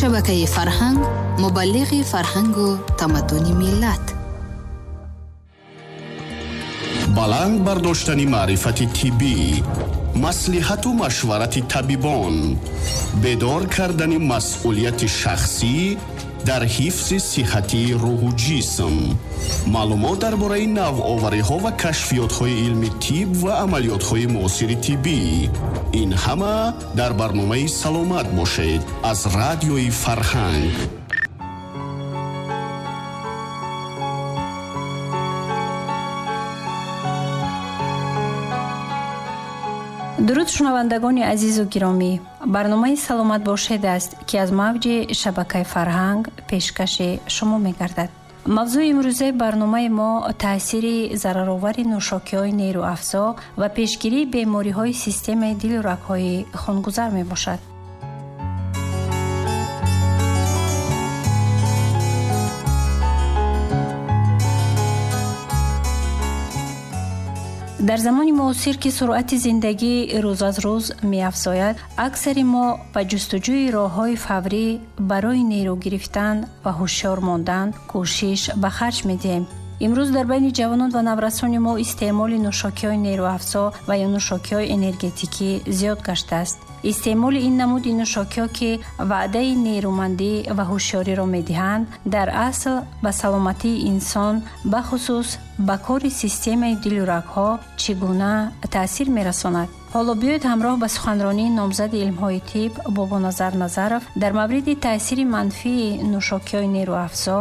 Шабакаи Фарҳанг мубаллиғи фарҳангу тамаддуни миллат. Баланд бардоштани маърифати тиббӣ, маслиҳату машварати табибон, бедор кардани масъулияти шахсӣ дар ҳифзи сиҳатии рӯҳу ҷисм, маълумот дар бораи навовариҳо ва кашфиётҳои илми тиб ва амалиётҳои муосири тиббӣ. Ин ҳама дар барномаи «Саломат бошед» аз Радиои Фарҳанг. Дуруд, шунавандагони азизу гиромӣ! Барномаи «Саломат бошед» аст, ки аз мавҷи Шабакаи Фарҳанг пешкаши шумо мегардад. Мавзӯи имрӯзаи барномаи мо таъсири зараровари нӯшокиҳои нерӯафзо ва пешгирии бемориҳои системаи дилу рагҳои хунгузар мебошад. Дар замони муосир, ки суръати зиндагӣ рӯз аз рӯз меафзояд, аксари мо ба ҷустуҷӯи роҳҳои фаврӣ барои нерӯ гирифтан ва ҳушёр мондан кӯшиш ба харҷ медиҳем. Имрӯз дар байни ҷавонон ва наврасони мо истеъмоли нӯшокиҳои нерӯафзо ва ё нӯшокиҳои энергетикӣ зиёд гаштааст. Истеъмоли ин намуди нӯшокиҳо, ки ваъдаи нерӯмандӣ ва ҳушёриро медиҳанд, дар асл ба саломатии инсон, бахусус ба кори системаи дилу рагҳо, чӣ гуна таъсир мерасонад? Ҳоло биёед ҳамроҳ ба суханронии номзади илмҳои тиб Бобоназар Назаров дар мавриди таъсири манфии нӯшокиҳои нерӯафзо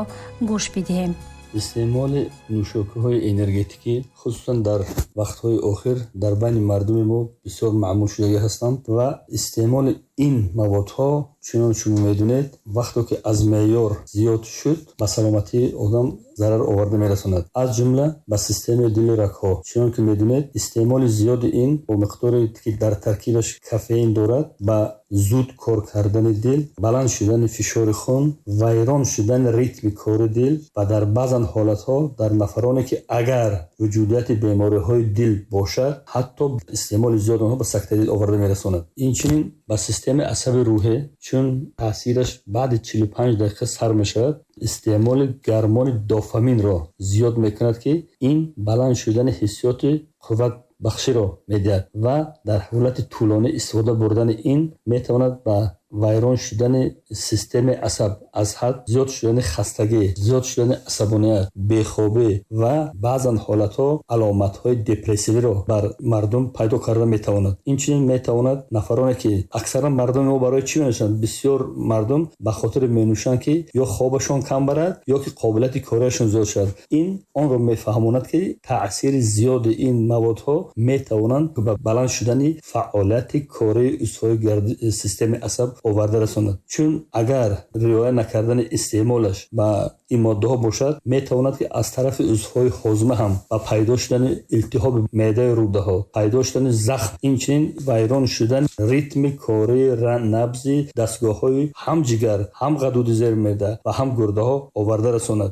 гӯш бидиҳем. Истеъмоли нӯшокиҳои энергетикӣ, хусусан дар вақтҳои охир, дар байни мардуми мо бисёр маъмул шудагӣ ҳастанд ва истеъмоли ин маводҳо, чунон шумо медонед, вақте ки аз меъёр зиёд шуд, ба саломатии одам зарар оварда мерасонад, аз ҷумла ба системаи дилу рагҳо. Чунон ки медонед, истеъмоли зиёди ин бо миқдоре ки дар таркибаш кофеин дорад, ба зуд кор кардани дил, баланд шудани фишори хун, вайрон шудани ритми кори дил ва дар баъзан ҳолатҳо дар нафароне ки агар вуҷудияти бемориҳои дил бошад, ҳатто истеъмоли зиёди онҳо ба сактаи дил оварда мерасонад. Инчунин ба системаи асаби рӯҳӣ, чун таъсираш баъди 45 дақиқа сар мешавад, истеъмоли гармони дофаминро зиёд мекунад, ки ин баланд шудани ҳиссиёти қувватбахширо медиҳад ва дар ҳолати тӯлонӣ истифода бурдани ин метавонад ба вайрон шудани системаи асаб, аз ҳад зиёд шудани хастагӣ, зиёд шудани асабоният, бехобӣ ва баъзан ҳолатҳо аломатҳои депрессивиро бар мардум пайдо карда метавонад. Инчунин метавонад нафароне ки аксаран мардуми мо барои чӣ менӯшанд? Бисёр мардум ба хотири менӯшанд, ки ё хобашон кам барад, ё ки қобилияти кориашон зиёд шавад. Ин онро мефаҳмонад, ки таъсири зиёди ин маводҳо метавонанд ба баланд шудани фаъолияти кории узвҳои системаи асаб оварда расонад. Чун агар риоя накардани истеъмолаш ба ин моддаҳо бошад, метавонад ки аз тарафи узвҳои ҳозима ҳам ба пайдо шудани илтиҳоби меъдаи рӯдаҳо, пайдо шудани захм, инчунин вайрон шудани ритми кории набзи дастгоҳҳои ҳам ҷигар, ҳам ғадуди зери меъда ва ҳам гурдаҳо оварда расонад.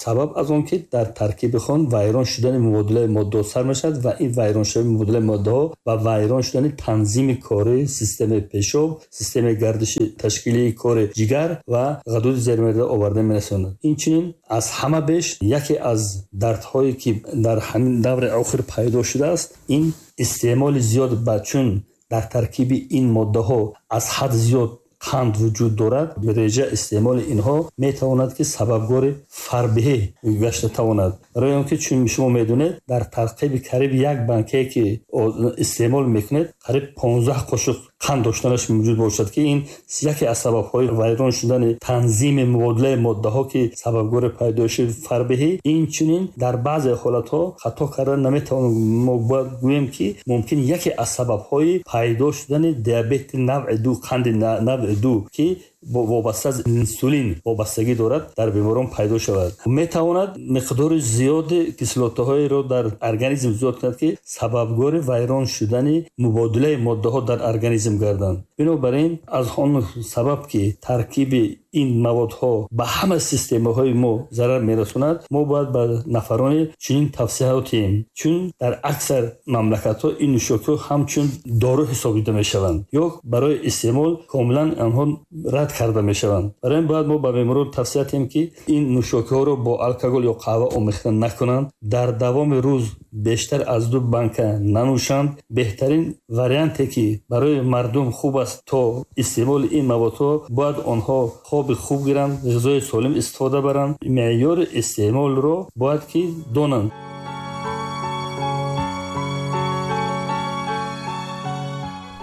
Сабаб аз он ки дар таркиби хун вайрон шудани мубодилаи моддаҳо сар мешавад ва ин вайрон шудани мубодилаи моддаҳо ва вайрон шудани танзими кории системаи пешоб, системаи гардиши ташкилии кори ҷигар ва ғадуди зери меъда оварда мерасонад. Инчунин аз ҳама беш яке аз дардҳое ки дар ҳамин даври охир пайдо шудааст, ин истеъмоли зиёд ба чун дар таркиби ин моддаҳо аз ҳад зиёд қанд вуҷуд дорад, реҷа истеъмоли инҳо метавонад ки сабабгори фарбеҳӣ гашта тавонад. Барои он ки чун шумо медонед, дар таркиби қариб як банкае ки истеъмол мекунед, қариб 15 қошуқ қанд доштанаш мавҷуд бошад, ки ин яке аз сабабҳои вайрон шудани танзими мубодилаи моддаҳо, ки сабабгори пайдоиши фарбеҳӣ. Инчунин дар баъзе ҳолатҳо хато кардан наметавонем, мо бояд гӯем ки мумкин яке аз сабабҳои пайдо шудани диабети навъи ду, қанди навъи ду, ки вобаста аз инсулин вобастагӣ дорад, дар беморон пайдо шавад. Метавонад миқдори зиёди кислотаҳоеро дар организм зиёд кунад, ки сабабгори вайрон шудани мубодилаи моддаҳо дар организм гарданд. Бинобар ин аз он сабаб ки таркиби ин маводҳо ба ҳама системаҳои мо зарар мерасонад, мо бояд ба нафароне чунин тавсияҳо диҳем, чун дар аксар мамлакатҳо ин нӯшокиҳо ҳамчун дору ҳисобида мешаванд ё барои истеъмол комилан онҳо рад рад карда мешаванд. Барои ин бояд мо ба беморон тавсия диҳем, ки ин нӯшокиҳоро бо алкогол ё қаҳва омехта накунанд, дар давоми рӯз бештар аз 2 банка нанӯшанд. Беҳтарин варианте ки барои мардум хуб аст то истеъмоли ин маводҳо, бояд онҳо хоби хуб гиранд, ғизои солим истифода баранд, меъёри истеъмолро бояд ки донанд.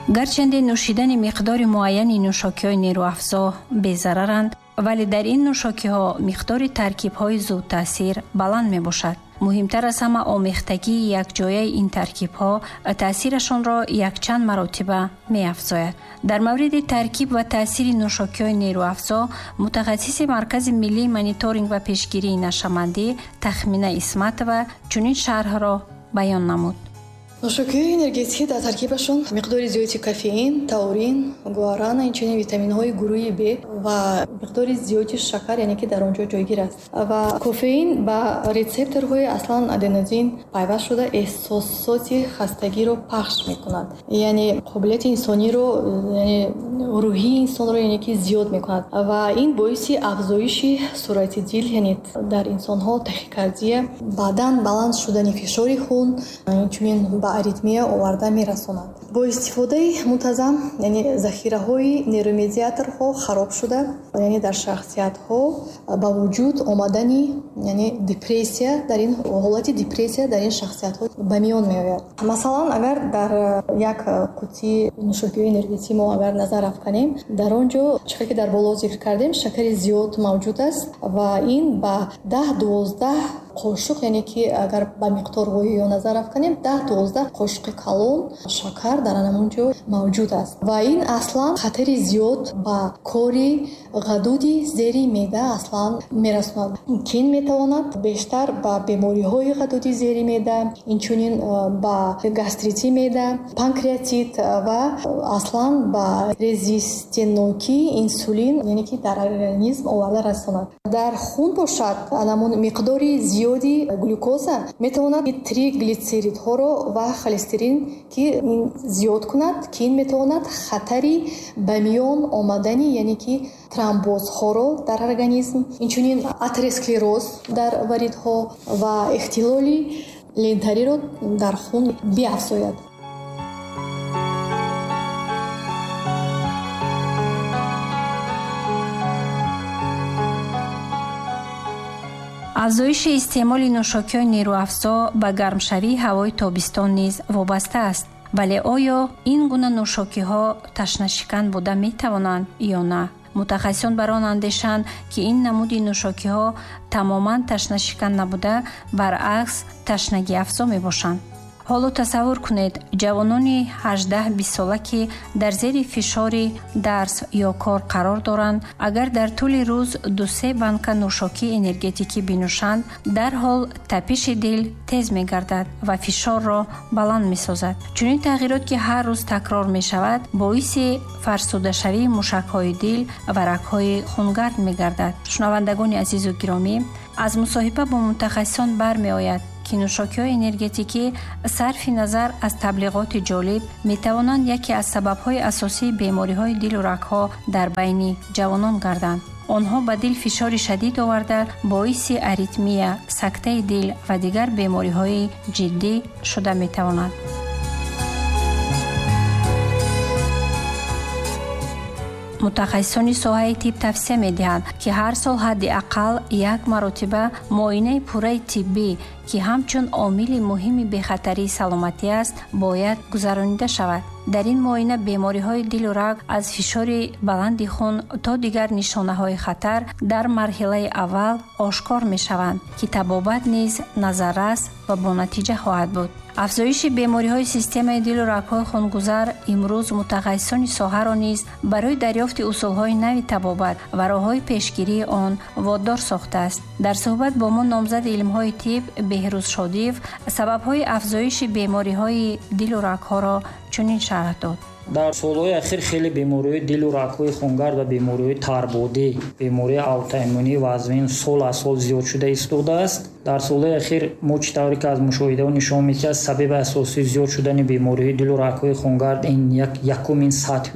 Гарчанде нӯшидани миқдори муайяни нӯшокиҳои нерӯафзо безараранд, вале дар ин нӯшокиҳо миқдори таркибҳои зудтаъсир баланд мебошад. Муҳимтар аз ҳама омехтагии якҷояи ин таркибҳо таъсирашонро якчанд маротиба меафзояд. Дар мавриди таркиб ва таъсири нӯшокиҳои нерӯафзо мутахассиси Маркази миллии мониторинг ва пешгирии нашъамандӣ Тахмина Исматова чунин шарҳро баён намуд. Нӯшокиҳои энергетикӣ дар таркибашон миқдори зиёди кофеин, таурин, гуарана, инчунин витаминҳои гурӯҳи Б ва миқдори зиёди шакар, яъне ки дар он ҷо ҷойгир аст. Ва кофеин ба рецепторҳои аслан аденозин пайваст шуда эҳсосоти хастагиро пахш мекунад. Яъне қобилияти инсониро, яъне рӯҳии инсонро, яъне ки зиёд мекунад. Ва ин боиси афзоиши суръати дил, яъне дар инсонҳо тахикардия, баъдан баланд шудани фишори хун, инчунин ба аритмия оварда мерасонад. Бо истифодаи мунтазам, яъне захираҳои нейромедиаторҳо хароб шуда, яъне дар шахсиятҳо ба вуҷуд омадани, яъне депрессия, дар ин ҳолати депрессия дар ин шахсиятҳо ба миён меояд. Масалан, агар дар як қутии нӯшокиҳои энергетикӣ мо агар назар афканем, дар он ҷо чӣ ки дар боло зикр кардем, шакари зиёд мавҷуд аст ва ин ба 10-12 қошуқ, яъне ки агар ба миқдорҳои ё назар афканем, 10-12 қошуқи калон шакар дар ҳамон ҷо мавҷуд аст ва ин аслан хатари зиёд ба кори ғадуди зери меъда аслан мерасонад, ки ин метавонад бештар ба бемориҳои ғадуди зери меъда, инчунин ба гастрити меъда, панкреатит ва аслан ба резистентнокии инсулин, яъне ки дар организм оварда расонад. Дар хун бошад, ҳамон миқдори зиёди глюкоза метавонад триглицеридҳоро ва холестерин ки зиёд кунад, ки ин метавонад хатари ба миён омадани, яъне ки тромбозҳоро дар организм, инчунин атеросклероз дар варидҳо ва ихтилоли лентариро дар хун биафзояд. Афзоиши истеъмоли нӯшокиҳои нерӯафзо ба гармшавии ҳавои тобистон низ вобаста аст. Вале оё ин гуна нӯшокиҳо ташнашикан буда метавонанд ё на? Мутахассисон бар он андешанд, ки ин намуди нӯшокиҳо тамоман ташнашикан набуда, баръакс ташнагиафзо мебошанд. Ҳоло тасаввур кунед, ҷавонони 18-20 сола, ки дар зери фишори дарс ё кор қарор доранд, агар дар тӯли рӯз 2-3 банка нӯшокии энергетикӣ бинӯшанд, дарҳол тапиши дил тез мегардад ва фишорро баланд месозад. Чунин тағйирот, ки ҳар рӯз такрор мешавад, боиси фарсудашавии мушакҳои дил ва рагҳои хунгард мегардад. Шунавандагони азизу гиромӣ, аз мусоҳиба бо мутахассисон бармеояд, ки нӯшокиҳои энергетикӣ сарфи назар аз таблиғоти ҷолиб метавонанд яке аз сабабҳои асосии бемориҳои дилу рагҳо дар байни ҷавонон гарданд. Онҳо ба дил фишори шадид оварда, боиси аритмия, сактаи дил ва дигар бемориҳои ҷиддӣ шуда метавонанд. Мутахассисони соҳаи тиб тавсия медиҳанд, ки ҳар сол ҳадди ақал як маротиба муоинаи пурраи тиббӣ, ки ҳамчун омили муҳими бехатарии саломатӣ аст, бояд гузаронида шавад. Дар ин муоина бемориҳои дилу раг аз фишори баланди хун то дигар нишонаҳои хатар дар марҳилаи аввал ошкор мешаванд, ки табобат низ назаррас ва бонатиҷа хоҳад буд. Афзоиши бемориҳои системаи дилу рагҳои хунгузар имрӯз мутахассисони соҳаро низ барои дарёфти усулҳои нави табобат ва роҳҳои пешгирии он водор сохтааст. Дар суҳбат бо мо номзади илмҳои тиб Беҳрӯз Шодиев сабабҳои афзоиши бемориҳои дилу рагҳоро чунин шарҳ дод. Дар солҳои ахир хеле бемориҳои дилу рагҳои хунгард ва бемориҳои тарбодӣ, бемории аутоиммунӣ вазмин сол аз сол зиёд шуда истодааст. Дар солҳои ахир мо чӣ тавре ки аз мушоҳидаҳо нишон медиҳад, сабаби асосии зиёд шудани бемориҳои дилу рагҳои хунгард ин якум ин сатҳ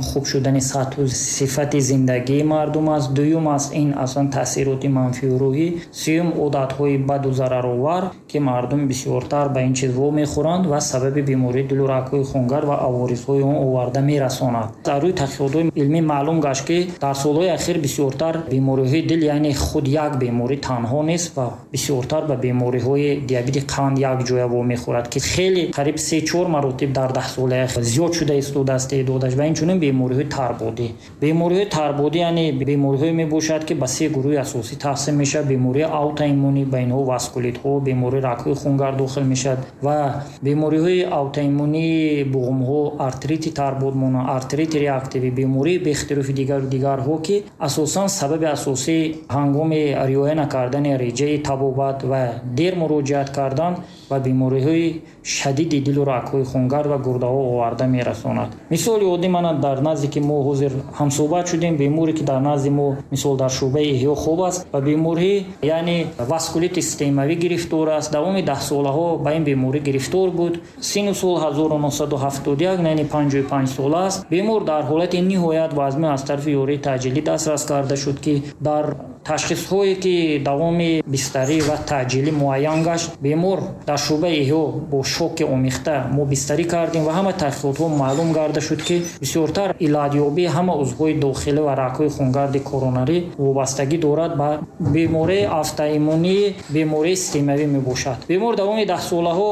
хуб шудани сатҳу сифати зиндагии мардум аст, дуюм аст ин аслан таъсироти манфию рӯҳӣ, сеюм одатҳои баду зараровар, ки мардум бисёртар ба ин чиз вомехӯранд ва сабаби бемории дилу рагҳои хунгард ва аворизҳои он оварда мерасонад. Дар рӯи таҳқиқотҳои илмӣ маълум гашт, ки дар солҳои ахир бисёртар бемориҳои дил, яъне худ як беморӣ танҳо нест ва бисёртар ба бемориҳои диабети қанд якҷоя вомехӯрад, ки хеле қариб 3-4 маротиб дар 10 солаи ахир зиёд шуда истодааст теъдодаш, ва инчунин бемориҳои тарбодӣ. Бемориҳои тарбодӣ яъне бемориҳое мебошад, ки ба се гурӯҳи асосӣ тақсим мешавад: бемории аутоиммунӣ, ба инҳо васкулитҳо, бемории рагҳои хунгард дохил мешавад, ва бемориҳои аутоиммунии буғумҳо, артрити тарбод монанд, артрити реактивӣ, бемории бехтирофи дигару дигарҳо, ки асосан сабаби асосии ҳангоми риоя накардани реҷаи табобат ва дер муроҷиат кардан ба бемориҳои шадиди дилу рагҳои хунгард ва гурдаҳо оварда мерасонад. Мисоли оддӣ, мана дар назде ки мо ҳозир ҳамсӯҳбат шудем, беморе ки дар назди мо мисол дар шӯъбаи эҳё хоб аст ва беморӣ яъне васкулити системавӣ гирифтор аст. Давоми 10 солаҳо ба ин беморӣ гирифтор буд. Сину сол 1971, яъне 55 сола аст. Бемор дар ҳолати ниҳоят вазмин аз тарафи ёрии таъҷилӣ дастрас карда шуд, ки дар ташхисҳое ки давоми бистарӣ ва таъҷилӣ муайян гашт, бемор дар шӯъбаи эҳё бо шоки омехта мо бистарӣ кардем ва ҳама таҳқиқотҳо маълум гарда шуд, ки бисёртар иллатёбии ҳама узвҳои дохилӣ ва рагҳои хунгарди коронарӣ вобастагӣ дорад ба бемории автоиммунии бемории системавӣ мебошад. Бемор давоми 10 солаҳо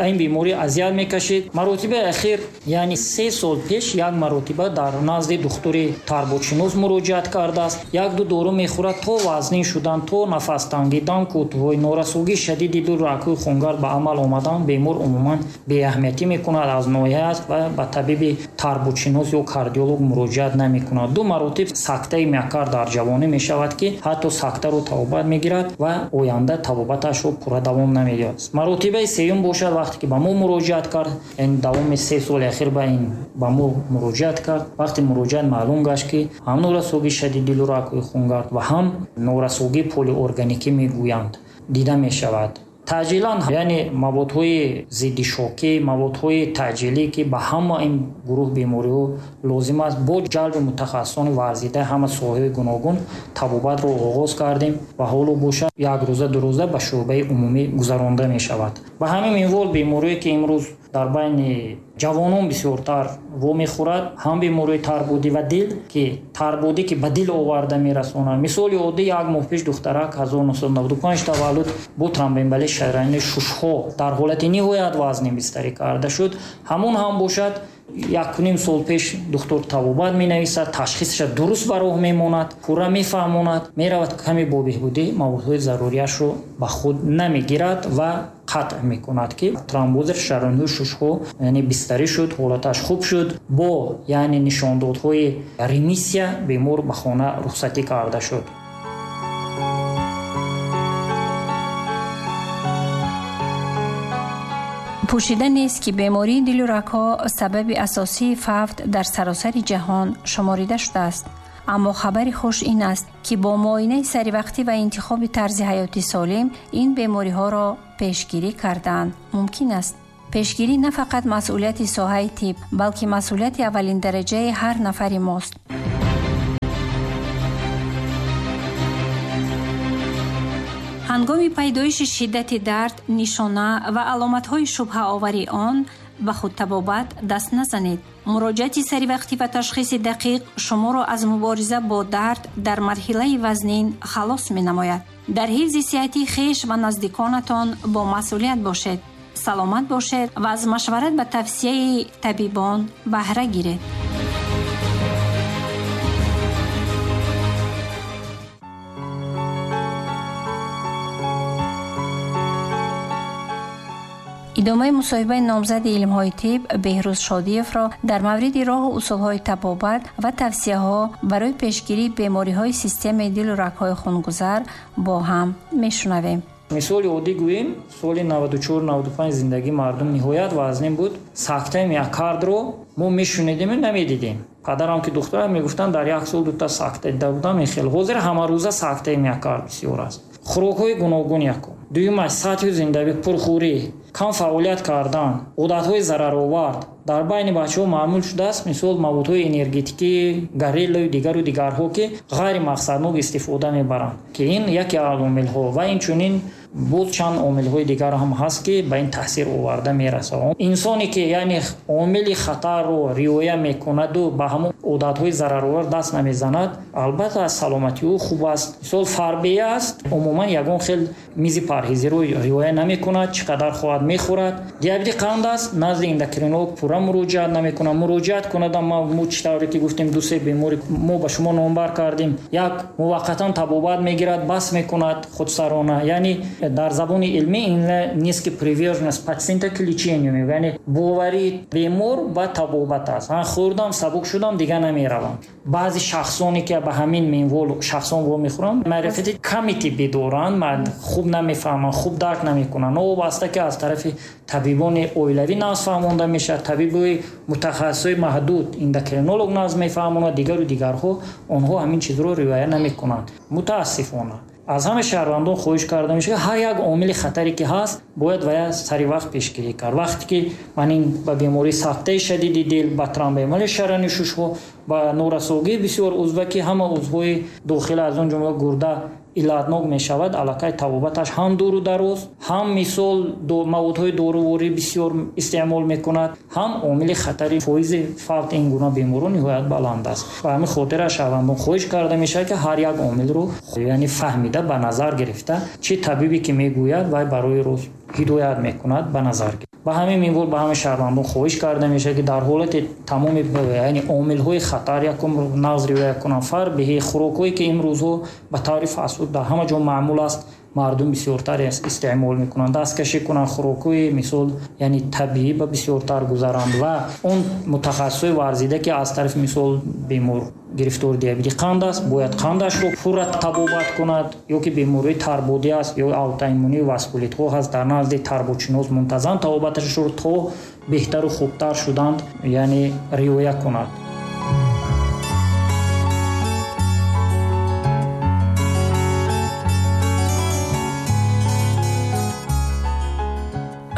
ин беморӣ азият мекашид. Маротибаи ахир, яъне 3 сол пеш, як маротиба дар назди духтури тарбодшинос муроҷиат кардааст. Як-ду дору мехӯрад, то вазнин шудан, то нафастангӣ, дам кӯтоҳӣ, норасогии шадиди дилу рагҳои хунгард ба амал омадан, бемор умуман беаҳамиятӣ мекунад, аз ноҳия аст ва ба табиби тарбодшинос ё кардиолог муроҷиат намекунад. Ду маротиб сактаи миокард дар ҷавонӣ мешавад, ки ҳатто сактаро табобат мегирад ва оянда табобаташро пурра давом намедиҳад. Маротибаи сеюм бошад, вақте ки ба мо муроҷиат кард, яъне давоми 3 соли ахир ба ин ба мо муроҷиат кард. Вақте муроҷиат маълум гашт, ки ҳам норасогии шадиди дилу рагҳои хунгард ва ҳам норасогии полиорганикӣ мегӯянд дида мешавад. Таъҷилан, яъне маводҳои зидди шокӣ, маводҳои таъҷилӣ, ки ба ҳама ин гурӯҳ бемориҳо лозим аст, бо ҷалби мутахассисони варзидаи ҳама соҳаҳои гуногун табобатро оғоз кардем ва ҳоло бошад як рӯза ду рӯза ба шӯъбаи умумӣ гузаронда мешавад. Ба ҳамин минвол бемориҳое ки имрӯз дар байни ҷавонон бисёртар вомехӯрад, ҳам бемории тарбодӣ ва дил, ки тарбодӣ ки ба дил оварда мерасонад. Мисоли оддӣ, як моҳ пеш духтарак 1995 таваллуд бо тромбоэмболии шараёни шушҳо дар ҳолати ниҳоят вазнин бистарӣ карда шуд. Ҳамон ҳам бошад 1.5 сол пеш духтур табобат менависад, ташхисаша дуруст ба роҳ мемонад, пурра мефаҳмонад, меравад каме бо беҳбудӣ маводҳои зарурияшро ба худ намегирад ва қатъ мекунад, ки тромбози шараёнҳои шушҳо яъне бистарӣ шуд, ҳолаташ хуб шуд, бо яъне нишондодҳои ремиссия бемор ба хона рухсатӣ карда шуд. Пӯшида нест, ки бемории дилу рагҳо сабаби асосии фавт дар саросари ҷаҳон шуморида шудааст. Аммо хабари хуш ин аст, ки бо муоинаи саривақтӣ ва интихоби тарзи ҳаёти солим ин бемориҳоро пешгирӣ кардан мумкин аст. Пешгирӣ на фақат масъулияти соҳаи тиб, балки масъулияти аввалиндараҷаи ҳар нафари мост. Ҳангоми пайдоиши шиддати дард, нишона ва аломатҳои шубҳаовари он ба худтабобат даст назанед. Муроҷиати саривақтӣ ва ташхиси дақиқ шуморо аз мубориза бо дард дар марҳилаи вазнин халос менамояд. Дар ҳифзи сиҳати хеш ва наздиконатон бо масъулият бошед, саломат бошед ва аз машварат ба тавсияи табибон баҳра гиред. Идомаи мусоҳибаи номзади илмҳои тиб Беҳрӯз Шодиевро дар мавриди роҳу усулҳои табобат ва тавсияҳо барои пешгирии бемориҳои системаи дилу рагҳои хунгузар бо ҳам мешунавем. Мисоли оддӣ гӯем, соли 94-95 зиндагии мардум ниҳоят вазнин буд. Сактаи миокардро мо мешунидем намедидем. Падарам ки духтар мегуфтанд, дар як сол дута сакта дида будам. Хел ҳозир ҳамарӯза сактаи миокард бисёр аст. Хӯрокҳои гуногун якум. Дуюмаш сатҳи зиндагӣ, пурхӯрӣ, кам фаъолият кардан, одатҳои зараровар. Дар байни бачаҳо маъмул шудааст, мисол маводҳои энергетикӣ, гориллаю дигару дигарҳо, ки ғайримақсаднок истифода мебаранд, ки ин яке аз омилҳо ва инчунин боз чанд омилҳои дигар ҳам ҳаст, ки ба ин таъсир оварда мерасад. Инсоне ки яъне омили хатарро риоя мекунаду ба ҳамон одатҳои зараровар даст намезанад, албатта аз саломатии ӯ хуб аст. Мисол фарбея аст, умуман ягон хел мизи парҳезиро риоя намекунад, чӣ қадар хоҳад мехӯрад. Диабети қанд аст, назди эндокринолог пурра муроҷиат намекунад. Муроҷиат кунад, мо чӣ тавре ки гуфтем, ду-се бемори мо ба шумо номбар кардем, як муваққатан табобат мегирад, бас мекунад худсарона. Яъне дар забони илмӣ ин низкий приверженность пациента к лечению, яъне боварии бемор ба табобат аст. Хӯрдам, сабук шудам, дигар намеравам. Баъзе шахсоне ки ба ҳамин минвол шахсон вомехӯранд, маърифати ками тиббӣ доранд, хуб намефаҳманд, хуб дарк намекунанд. Новобаста ки аз тарафи табибони оилавӣ нағз фаҳмонда мешавад, табиби мутахассисои маҳдуд, эндокринолог нағз мефаҳмонад, дигару дигарҳо, онҳо ҳамин чизро риоя намекунанд. Мутаассифона аз ҳама шаҳрвандон хоҳиш карда мешавад, ҳар як омили хатаре ки ҳаст, бояд вая сари вақт пешгирӣ кард. Вақте ки ман ин ба бемории сактаи шадиди дил, ба тромбоэмболияи шараёни шушҳо, ба норасогии бисёр узва, ки ҳама узвҳои дохила аз он ҷумла гурда иллатнок мешавад, аллакай табобаташ ҳам дуру дароз, ҳам мисол маводҳои доруворӣ бисёр истеъмол мекунад, ҳам омили хатари фоизи фавт ин гуна беморон ниҳоят баланд аст. Ба ҳамин хотир аз шаҳрвандон хоҳиш карда мешавад, ки ҳар як омилро яъне фаҳмида, ба назар гирифта, чӣ табибе ки мегӯяд, вай барои рост ҳидоят мекунад, ба назар гирифта. Ба ҳамин минвол ба ҳамаи шаҳрвандон хоҳиш карда мешавад, ки дар ҳолати тамоми яъне омилҳои хатар якум нағз риоя кунанд. Фарбеҳӣ, хӯрокҳое ки имрӯзҳо ба таври фастфуд дар ҳама ҷо маъмул аст, мардум бисёртар истеъмол мекунанд, дасткашӣ кунанд, хӯрокҳои мисол яъне табиӣ ба бисёртар гузаранд ва он мутахассисои варзида, ки аз тарафи мисол бемор гирифтори диабети қанд аст, бояд қандашро пурра табобат кунад, ё ки бемории тарбодӣ аст, ё аутоиммунии васкулитҳо ҳаст, дар назди тарбодшинос мунтазам табобаташро то беҳтару хубтар шуданд, яъне риоя кунад.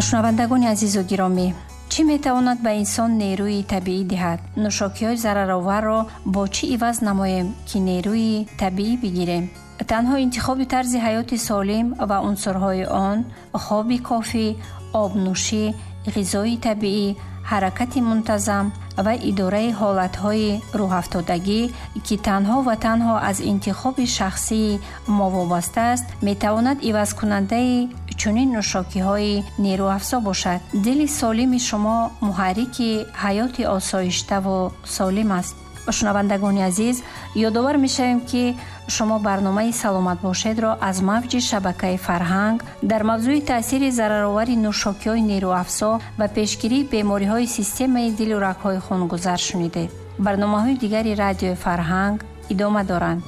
Шунавандагони азизу гиромӣ, чӣ метавонад ба инсон нерӯи табиӣ диҳад? Нӯшокиҳои зарароварро бо чӣ иваз намоем, ки нерӯи табиӣ бигирем? Танҳо интихоби тарзи ҳаёти солим ва унсурҳои он, хоби кофӣ, обнӯшӣ, ғизои табиӣ, ҳаракати мунтазам ва идораи ҳолатҳои рӯҳафтодагӣ, ки танҳо ва танҳо аз интихоби шахсии мо вобаста аст, метавонад ивазкунандаи чунин нӯшокиҳои нерӯафзо бошад. Дили солими шумо муҳаррики ҳаёти осоиштаву солим аст. Шунавандагони азиз, ёдовар мешавем, ки шумо барномаи «Саломат бошед»-ро аз мавҷи шабакаи «Фарҳанг» дар мавзӯи таъсири зараровари нӯшокиҳои нерӯафзо ва пешгирии бемориҳои системаи дилу рагҳои хунгузар шунидед. Барномаҳои дигари радиои «Фарҳанг» идома доранд.